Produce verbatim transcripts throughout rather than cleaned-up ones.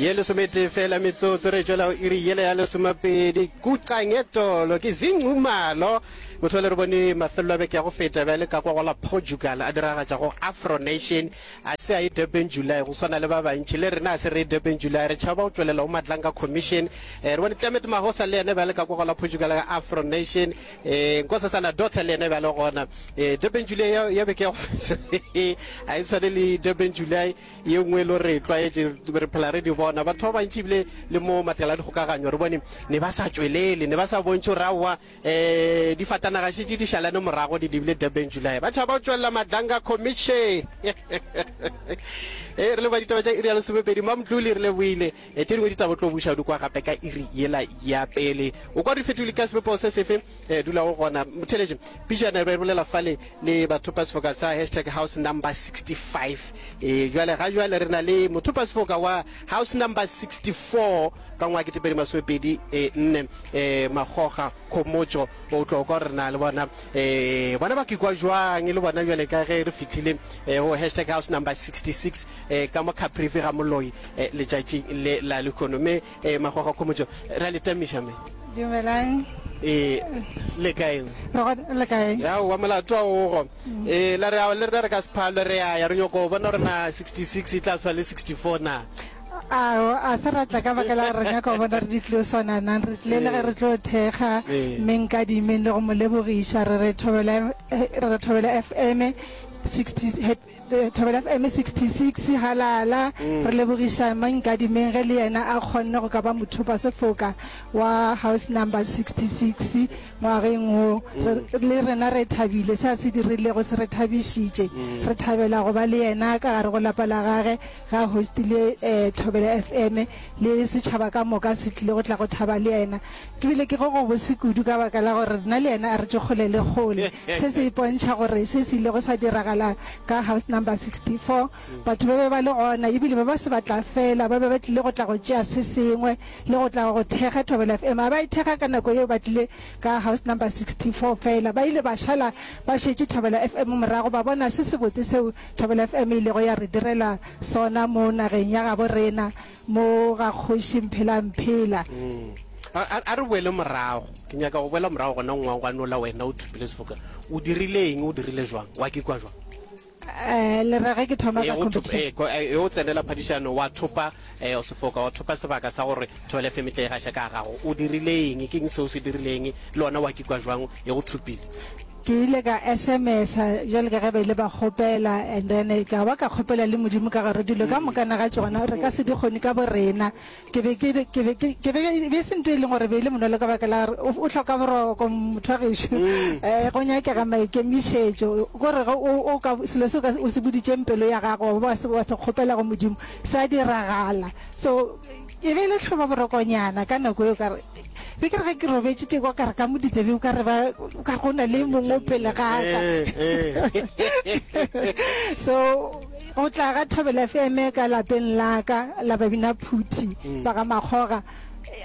Ye lesometee fela metsotso re tšwela go iri yela ya lesomepedi. Kuqangetolo ke Zingxumalo. Motho le re bone mafelelo a beke ya go feta bjale ka kwa go la Portugal a diragatša go Afro Nation. A se a ye Durban July go swana le ba bantši. Le rena a se re ye Durban July, re tšhaba go tšwelela go Madlanga Commission. Eh, re bone Clement Mahosa le yena bjale ka kwa go la Portugal ka Afro Nation. Eh, Nkosazana Daughter le yena bjale gona. Eh, Durban July ya, ya beke ya go feta a e tshwane le Durban July ye nngwe e le gore re tlwaetše re phela re di bona. Batho ba bantši ebile le mo matlakala a dikgokaganyo re bone ne ba sa tšwelele, ne ba sa bontšhe gore aowa um difatanaga šetše di šalane morago di lebile Durban July. Ba tšhaba go tšwelela Madlanga Commission. E re leboga ditaba tša iri ya lesomepedi. Mamtluli re leboile. E tše dingwe ditaba o tlo buša o di kwa gape ka iri yela ya pele. O kwa di fetole ka sebopego se sefe e dulago gona. Motheletše pijana re bolela fale le bathopasefoka sa hashtag house number sixty-five. E jwale ga jwale re na le mothopasefoka wa house number sixty-four ka ngwaga ketepedi masomepedi e nne e Makgoga Khomotšo. O tlo kwa gore re na le bona e bona ba kikwa jwang le bona bjale ka ge re fihlile e go hashtag house number sixty-six e ka mo Caprivi ga Moloi e letšatšing le la lehono. Mme e Makgoga Khomotšo re a le tamiša mme. Dumelang. E le kae? Re gona, le kae? Aowa molato a ogo. E la re ao le rena re ka se phalwe re a ya re nyoko bona gore na sixty-six e tla swa le sixty-four na. Ao, a se ra tla ka baka la gore re nyaka go bona re di tlilo swana nang. Re tlile le ge re tlo thekga mme Nkadimeng le go mo lebogiša. Re re Thobela, re re Thobela F M sixty, Thobela F M sixty-six, halala. Re lebogiša mme Nkadimeng ge le yena a kgonne go ka ba mothopasefoka wa house number sixty-six ngwageng wo. Re, le rena re thabile, se a se dirilego se re thabišitše. Re thabela go ba le yena ka gare go lapa la gage ge a hostile eh, Thobela F M, le setšhaba ka moka se tlile go tla go thaba le yena. Ke bile ke go go bose kudu ka baka la gore nna le yena a re tšwe kgole le kgole. Se se ipontšha gore se se ilego sa diragala ka house number sixty-four, batho ba be ba le gona ebile ba ba se ba tla fela, ba be ba tlile go tla go tšea se sengwe le go tla go thekga Thobela F M. A ba e thekga ka nako yeo ba tlile ka house number sixty-four fela, ba ile ba šala ba šetše Thobela F M morago, ba bona se sebotse seo Thobela F M e ilego ya re direla sona mo nageng ya gabo rena mo ga Kgoši Mphela Mphela. A, a re boele morago. Ke nyaka go boela morago gona ngwangwanola wena o thopile sefoka. O dirile eng? O dirile jwang? Wa kikwa jwang? Eh, le re ge ke thoma E ka go thopa, competition. e, ko- e, o tsenela phadišano wa thopa eh, sefoka, wa thopa sebaka sa gore Thobela F M e tle e gaše ka gago. O dirile eng? Ke eng seo se dirileng? Le ona wa kikwa jwang e go thopile? Ke ile ka S M S bjale ka ge ba ile ba kgopela, and then ka ba ka kgopela le Modimo ka gore dilo ka mokana ga tšona re ka se di kgone ka borena. Ke be ke, ke be ke, ke be, e be se ntho e leng gore be e le monolo ka baka la gore o, o hloka boroko motho wa gešo. Eh, go nyakega maikemišetšo. Kore ge o, o ka, selo se o ka, o se boditšeng pelo ya gago, wa se, wa se kgopela go Modimo, sa diragala. So e be e le hloba borokonyana ka nako eo, ka re be ke re ge ke robetše ke kwa ka re ka mo ditsebe o ka re ba, o ka re go na le mongwe o pele ga ka. So go tla ga Thobela F M ka lapeng la ka la Babina Phuthi ba ga Makgoga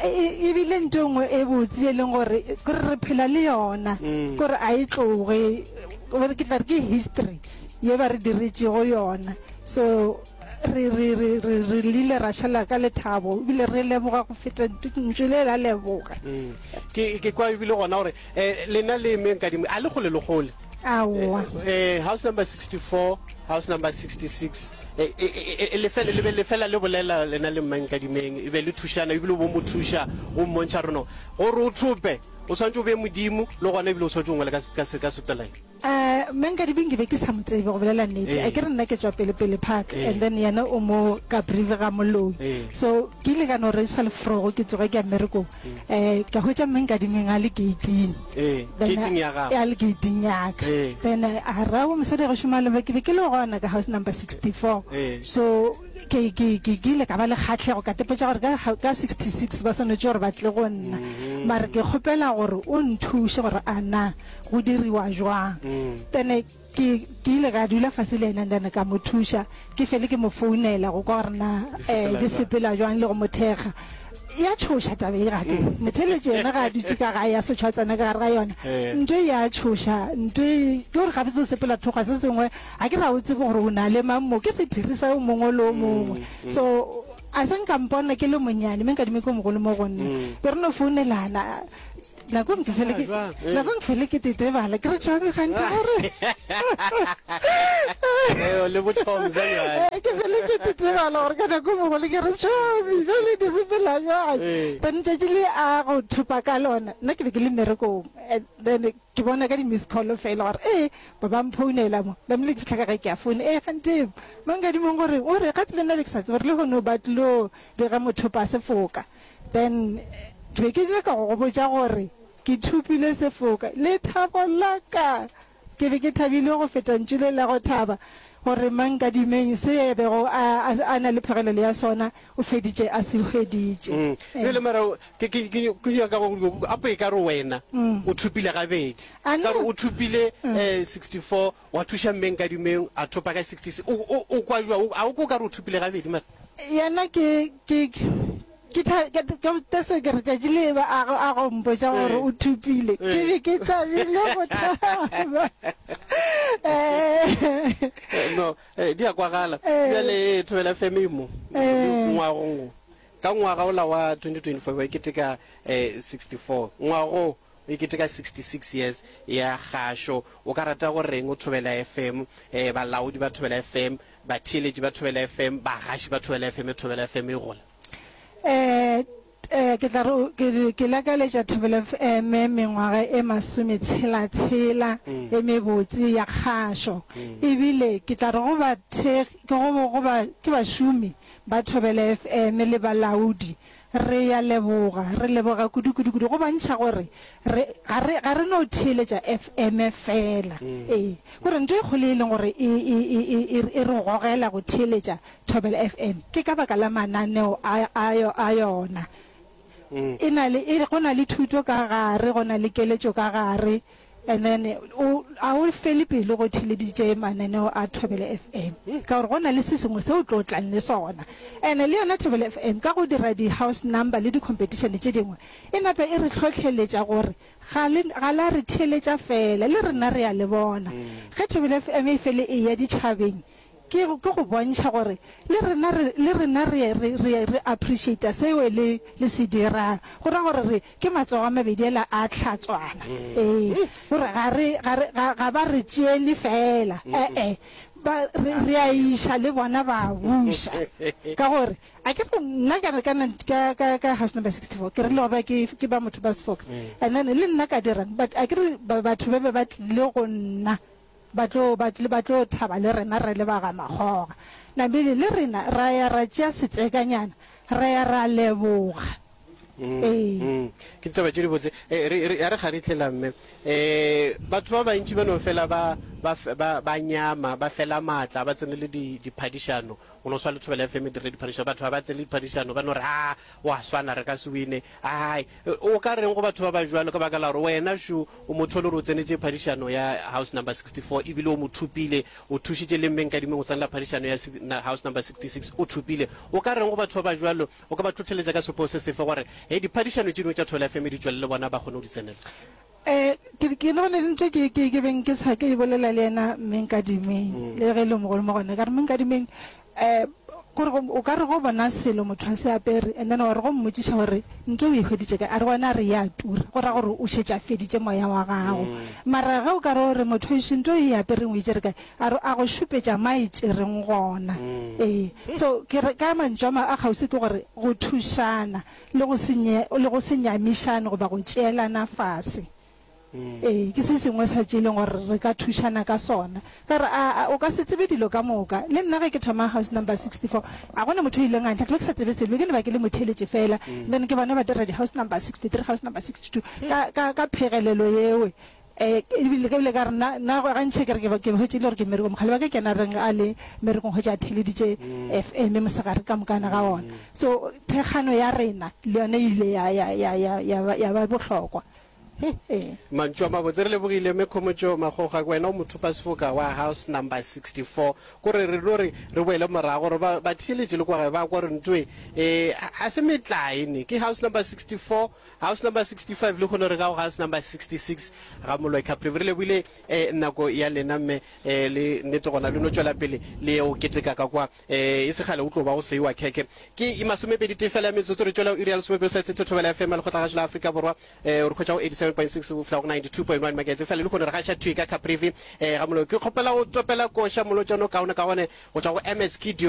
e, e bile ntho e nngwe e botse e leng gore kore re phela le yona, kore a e tloge, gore ke tla re ke history ye ba re diretšego yona. So re, re, re, re, re lile ra šala ka lethabo ebile re leboga go feta ntšu le la leboga. Mm. Ke, ke kwa ebile gona gore eh, lena le eme Nkadimo a le kgole le kgole. Aowa. Eh, house number sixty-four, house number sixty-six, eh, eh, eh, lefela, le be lefela le bolela lena le mma Nkadimeng, e be le thušana ebile o bo mo thuša, o mmontšha gore no, gore o thope, o tshwanetse o be Modimo, le gona ebile o tshwanetse o ngwale ka, ka, ka setsela. Eh, mme Nkadimeng ke be ke sa mo tsebe go bolela nnete. Eh. A ke re nna ke tšwa pele pele park, Eh. and then yena o mo Caprivi ga Moloi. Eh. So ke ile ka no re sa le frogo ke tsoge ke ya mmerekong. Eh, ka hwetša mme Nkadimeng a le gate-ing. Eh, Then, gate-ing ya gago. A le gate-ing ya ka. Eh. Then a ra o mosadi go šoma le ba, ke be ke le gona ka house number sixty-four. Eh. So ke, ke, ke, ke ile ka ba le kgahlego, ka tepetša gore ka, ka sixty-six ba swanetše gore ba tle go nna. Mm-hmm. Mare ke kgopela gore o nthuše gore a na go diriwa jwang. Mm. Then ke, ke ile ka dula fase le yena, then ka mo thuša, ke fele ke mo founela go kwa gore na, Di sepela eh, di jwang. sepela jwang le go mo thekga. Ya tšhoša taba e gape. Motheletše yena ga a dutše ka gae, ya setšhwa tsena ka gare ga yona. Eh. Ntho e ya tšhoša, ntho e, ke gore gabotse o sepela thokgwa se sengwe, ga ke ra o tsebe gore o na le mang mo, ke sephiri sa o mongwe le o mongwe. Mm, mm. So A se nka mpona ke le monyane, mme Nkadimeng ke o mogolo mo go nna. Be re no founelana. Nako nngwe ke fele ke, Jwang? Eh. nako nngwe ke fele ke tetebala, ke re tšhomi gantši gore. Eh, le botšhomza bjale. Eh, ke fele ke tetebala gore ka nako mogolo ke re tšhomi, bjale di sepela bjang. Eh. Then tšatši le a go thopa ka lona, nna ke be ke le mmerekong. And then ke bona ka di-miss call fela gore ee ba ba mphounela mo. Namile ke fihla ka gae ke a founa, ee kganthe mo Nkadimeng gore o re gape le nna be ke sa tsebe gore lehono ba tlilo bega mothopa sefoka. Then ke be ke nyaka go go botša gore ke thopile sefoka. Lethabo la ka, ke be ke thabile go feta ntšu le la go thaba gore Mankadimeng se a bego a, a, a na le phegelelo ya sona o feditše a se hweditše. Mm. Bjale mara ke, ke, ke, ke nyaka go apo e ka re wena o thopile gabedi. A Ka re no. o thopile eh, sixty-four, wa thuša mme Nkadimeng a thopa ka sixty-six. O, o, o kwa jwang? A o ko ka re o thopile gabedi mara? Yena ke, ke, ke tha-, ke, ke, ke se ke re tšatši le ba a go, a go mpotša gore o thopile. Ke be ke thabile go thaba. Eh. No, eh, di a kwagala. Eh. Bjale Thobela F M e mo. Eh. Ngwagong wo. Ka ngwaga ola wa twenty twenty-four ba keteka, eh, sixty-four. Ngwago e keteka sixty-six years ya kgašo. O ka rata go reng o Thobela F M, eh, balaodi ba Thobela F M, batheeletši ba Thobela F M, bagaši ba Thobela F M, Thobela F M e gola? Eh, eh, ke tla re, ke, ke lakaletša Thobela F M mengwaga e masometshela-tshela e mebotse ya kgašo. Ebile ke tla re go ba thekgi, ke go, go ba, ke bašomi ba Thobela F M le balaodi. Re ya leboga, re leboga kudu, kudu, kudu go bontšha gore re, ga re, ga re no theeletša F M fela. Ee, gore ntho e kgolo e leng gore e, e, e, e, e, e re gogela go theeletša Thobela F M ke ka baka la mananeo a, a, a yona. E na le, e, go na le thuto ka gare, go na le keletšo ka gare, and then o, a o fele pelo go theeleditše mananeo a Thobela F M, ka gore go na le se sengwe se o tlo tlang le sona. And le yona Thobela F M ka go dira di-house number le di-competition tše dingwe, e nape e re hlohleletša gore ga le, ga la re theeletša fela, le rena re a le bona. Ge Thobela F M e fele e ya ditšhabeng, ke, ke go bontšha gore le rena re, le rena re, re, re, re appreciate seo le, le se dirang. Go ra gore re ke matsogo a mabedi ela a hlatswana. Ee, gore ga re, ga re, ga, ga ba re tšeele fela. Eh, eh. Ba, re, re a iša le bona ba buša. Ka gore, a ke re nna ka re ka na, ka, ka, ka house number sixty-four, ke re le ba ke, ke ba motho ba sefoka. And then le nna ka dirang, but a ke re ba, batho ba be ba tlile go nna, ba tlo, ba tle, ba tlo thaba le rena re le ba ga Makgoga. Namile le rena ra ya ra tšea setsekanyana, ra ya ra leboga. Ee. Mm. Ke ditaba tše dibotse. Eh, re, re, ya re kgaritlhela mme. Eh, batho ba bantši ba no fela ba, ba, ba, ba nyama, ba fela matla, ba tsenele di, diphadišano. Go no swa le Thobela F M e dire diphadišano. Batho ba ba tsenele diphadišano, ba no re, ah, wa swana, re ka se wine. Ai, o ka reng go batho ba ba jwalo ka baka la gore wena šo o motho o le gore o tsenetše phadišano ya house number sixty-four, ebile o mo thopile, o thušitše le mme Nkadimeng go tsenela phadišano ya si-, na, house number sixty-six, o thopile. O ka reng go batho ba ba jwalo, o ka ba tlhotlheletša ka sepo se sefe gore, he, diphadišano tše dingwe tša Thobela F M di tšwelele bona ba kgone go di tsenela? Eh, ke, ke nagana le ntho ke, ke, ke beng ke sa ke bolela le yena mme Nkadimeng, le ge e le mogolo mo gona, ka re mme Nkadimeng, eh, gore go, o ka re go bona selo motho a se apere, and then wa re go mmotšiša gore ntho o e hweditše kae, a re gona a re ya tura, go ra gore o šetše a feditše moya wa gago. Mara ge o ka re o re motho ešo ntho e apereng o e tšere kae, a re a go šupetša ma e tšereng gona. Ee, so ke re ka mantšu a ma a kgauswi ke gore go thušana le go se nye, le go se nyamišane goba go tšeelana fase. Ee, ke se sengwe sa tše leng gore re ka thušana ka sona. Ka re, a, a, o ka se tsebe dilo ka moka. Le nna ge ke thoma house number sixty-four, a gona motho o ileng a ntlhahla, ke sa tsebe selo, ke ne ba ke le motheeletše fela. Then ke bona ba dira di-house number sixty-three, house number sixty-two, ka, ka, ka phegelelo yeo. Eh, ebile ke bile ka re nna, nna gantši ke re ke ba, ke hwetše le gore ke mmerekong. Mogale wa ka ke yena a reng a le mmerekong hwetše a theeleditše F M mosegare ka mokana ga ona. So thekgano ya rena le yona e ile ya, ya, ya, ya, ya ba, ya ba bohlokwa. Ee. Mantšu a mabotse. Re lebogile Mme Khomotšo Makgoga, wena o mothopasefoka wa house number sixty four. Kore re no re re boele morago gore ba batheeletši le kwa gae ba kwa gore ntoe eh a se metlae ne. Ke house number sixty four, house number sixty five, lehono re ka go house number sixty six ga Moloi Caprivi. Re lebogile eh nako ya lena mme eh le nnete gona le no tšwela pele le ye go keteka ka kwa eh e se kgale o tlo ba go seiwa khekhe. Ke masomepedi tee fela ya metsotso re tšwela go iri ya lesomepedi sa tshetho Thobela F M ya Lekgotlagašo la Afrika Borwa. Eh re hwetša go eighty seven point six go fihla go ninety two point one megahertz. Fela lehono re gaša thwi ka Caprivi eh ga Moloi. Ke kgopela go topela koša molotšana o kaone ka gone go tšwa go M S Kidio.